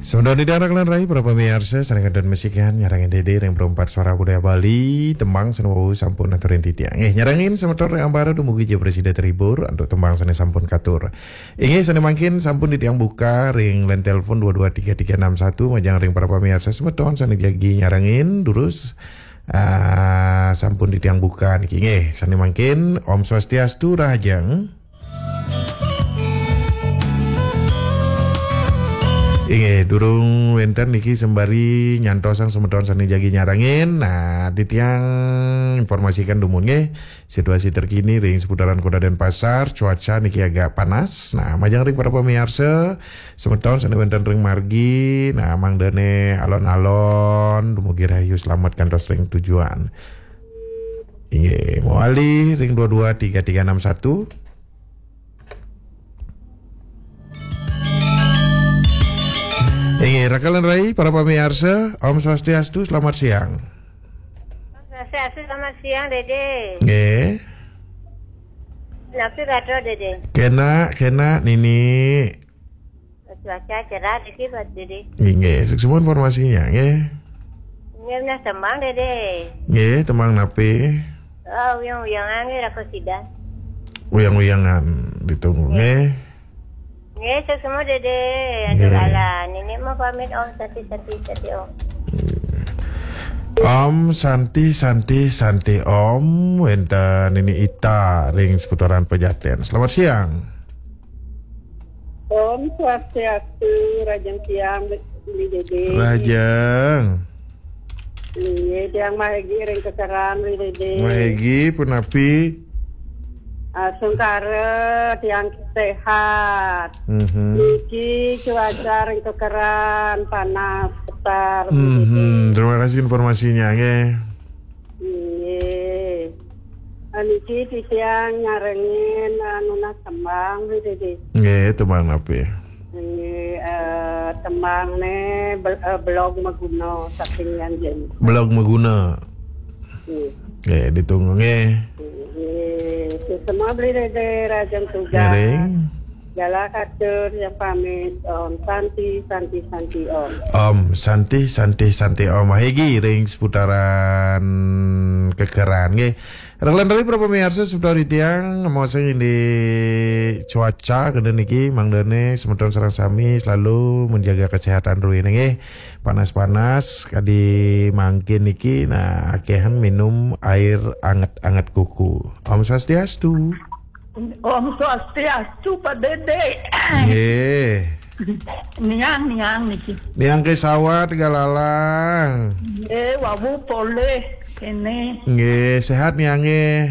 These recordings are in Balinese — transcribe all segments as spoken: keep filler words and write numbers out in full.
Semeton titiang rai, para pamiarsa, sané kantun masikian nyarengin Dédé ring Perumpat Suara Budaya Bali, tembang sané wau sampun aturin titiang. Nggih, nyarengin semeton ring ambara dumugi ja prasida terhibur antuk tembang sané sampun katur. Inggih, sané mangkin sampun titiang buka ring line telepon dua dua tiga tiga enam satu, majeng ring para pamiarsa semeton sané jagi nyarengin, durus, ah, sampun titiang buka niki. Nggih, sané mangkin, Om Swastiastu, rahajeng. Inggih, durung wénten niki sembari nyantosang semeton sané jagi nyarengin. Nah, titiang informasikan dumun nggih, situasi terkini ring seputaran Kota Denpasar, cuaca niki agak panas. Nah, majeng ring para pamiarsa, semeton sané wénten ring margi, nah, mangdané alon-alon, dumugi rahayu, slamet kantos ring tujuan. Inggih, mawali ring dua dua tiga tiga enam satu. Inggih, raka lan rai, para pamiarsa, Om Swastiastu, selamat siang. Swastiastu, selamat siang, Dédé. Nggih. Napi gatra, Dédé? Kénak, kénak, Nini. Cuaca cerah niki, Pak Dédé. Inggih, suksma informasinya, nggih. Nggih, nah, tembang, Dédé. Nggih, tembang napi? Oh, uyang-uyangan nggih, raka sida. Uyang-uyangan ditunggu, nggih. Nggih, suksma, Dédé. Aduh, nggih. Alah, Nini mau pamit, Om, santi, santi, santi, Om. Om Santi, Santi, Santi Om, wénten Nini Ita ring seputaran Pejaten. Selamat siang. Om Swastiastu, rahajeng siang, Bli Dédé. Rahajeng. Inggih, tiang Mahegi ring Kekeran, Bli Dédé. Mahegi, punapi? Ah, sungkara, tiang séhat. Mhm. Niki cuaca ring Kekeran, panas, ketar, Bli Dédé. Mhm, terima kasih informasinya, nggih. Inggih. Ah, niki titiang nyarengin, ah, nunas tembang, Bli Dédé. Nggih, tembang napi? Nggih, eh, tembang né bel-, eh, Belog Maguna saking Yan Jen. Belog Maguna. Nggih. Nggih, ditunggu nggih. Nggih, suksma, Bli Dédé, rahajeng tugas. Ngiring. Galah katur, tiang pamit. Om Santi, Santi, Santi, Om. Om Santi, Santi, Santi, Om. Mahegi ring seputaran Kekeran, nggih. Raka lan rai, para pamiarsa, semeton titiang, maosang indik cuaca kénten niki, mangdané semeton sareng sami selalu menjaga kesehatan ruhina, nggih. Panas-panas, kadi mangkin niki, nah, akéhan minum air anget-anget kuku. Om Swastiastu. Om Swastiastu, Pak Dédé. Nggih. Niang, niang niki. Niang Ké Sawat, Galalang. Nggih, wau polih kéné. Nggih, séhat niang nggih?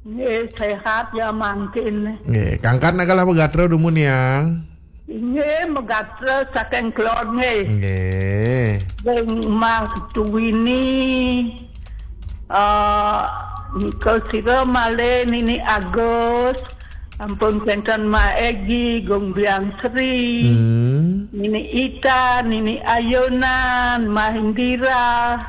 Nggih, séhat ya mangkin. Nggih, kangkat nak galah magatra dumun niang? Inggih, magatra saking Kelod nggih. Nggih. Ring Mas Tuwini, eh, nika sira malih Nini Agus, ampun kénten Mak Egi, Gung Biang Sri, Hmm. Nini Ita, Nini Ayunan, Mah Indira,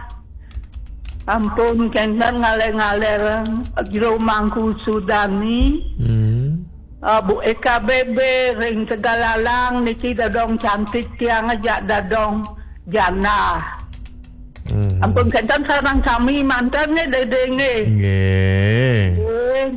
ampun kénten ngalér-ngalér Jero Mangku Sudani. Hmm. Ah, Bu Eka Bebe ring Tegalalang niki dadong cantik tiang ajak dadong janda. Hmm. Ampun kénten sareng sami manten nggih, Dédé nggih. Nggih. Nggih.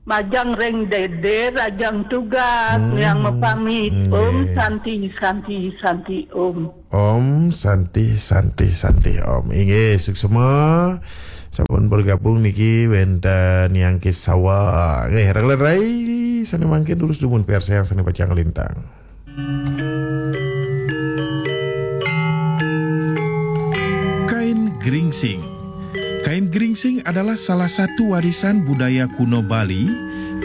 Majeng ring Dédé, rahajeng tugas, Hmm. niang mapamit. Nggih. Om Santi, Santi, Santi, Om. Om Santi, Santi, Santi, Om. Inggih, suksma. Sampun bergabung niki wénten Niang Ké Sawat. Nggih, raka lan rai, sané mangkin durus dumun piarsayang sané pacang lintang. Kain geringsing. Kain geringsing adalah salah satu warisan budaya kuno Bali,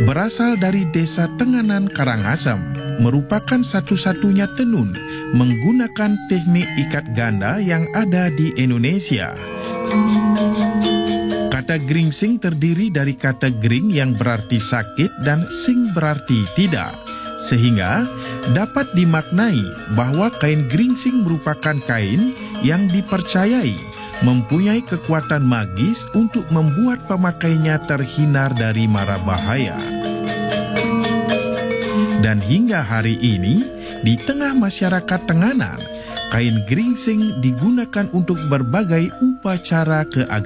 berasal dari Desa Tenganan, Karangasem, merupakan satu-satunya tenun menggunakan teknik ikat ganda yang ada di Indonesia. Kata geringsing terdiri dari kata gering yang berarti sakit dan sing berarti tidak. Sehingga dapat dimaknai bahwa kain geringsing merupakan kain yang dipercayai mempunyai kekuatan magis untuk membuat pemakainya terhindar dari mara bahaya. Dan hingga hari ini, di tengah masyarakat Tenganan, Kain geringsing digunakan untuk berbagai upacara keagamaan.